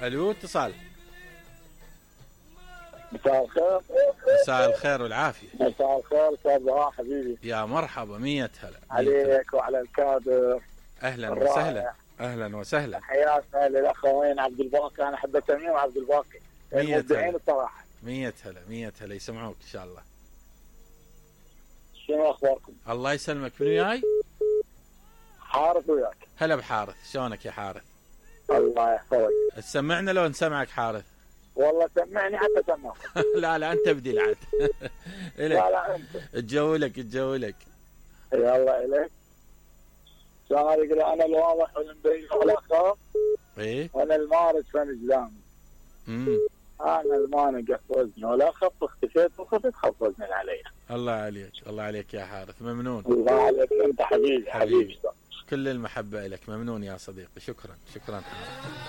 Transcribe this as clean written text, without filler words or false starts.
الو اتصال. مساء الخير. مساء الخير والعافيه. مساء الخير استاذ بهاء حبيبي. يا مرحبا، 100 هلا عليك وعلى الكادر. اهلا الرائع. وسهلا. اهلا وسهلا. حياتنا للاخوين عبد الباقي، انا احب تميم وعبد الباقي 100 المبدعين الصراحه. 100 هلا 100 هلا، يسمعوك ان شاء الله. شنو اخباركم؟ الله يسلمك. من وياي؟ حارث وياك. هلا بحارث، شلونك يا حارث؟ الله يحفظك. تسمعنا لو نسمعك حارث؟ والله سمعني حتى سمعك. لا لا انت بدي العد. لا الك لا انت. تجولك تجولك. يلا اليك. شلون يقول انا الواضح والمبين ولا اخاف. ايه وانا المارد فن جلامي. انا المانع قف وزني ولا اخف، اختفيت وخفت خف وزني علي. الله عليك، الله عليك يا حارث، ممنون. الله عليك انت حبيبي. كل المحبة لك، ممنون يا صديقي، شكرا شكرا حارث.